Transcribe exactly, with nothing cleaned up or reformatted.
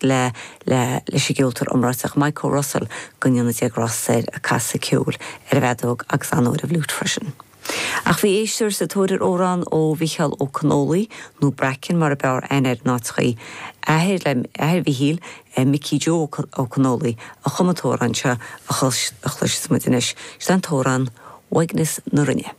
le le leis an gceoltóir iomráiteach Michael Russell go ndéana grást air ag casadh ceoil ar an bhfeadóg agus an ar an bhfliúit freisin. Ach bhí éisteoir sa tóir ar amhrán ó Mhicheál Ó Conghaile nó Bracken mar a b'fhearr aithne air in áiteachaí athair le athair Mhichíl Mickey Joe Ó Conghaile a chum an t-amhrán seo a chloisfidh muid anois, Sin an t-amhrán Uaigneas na Rinne.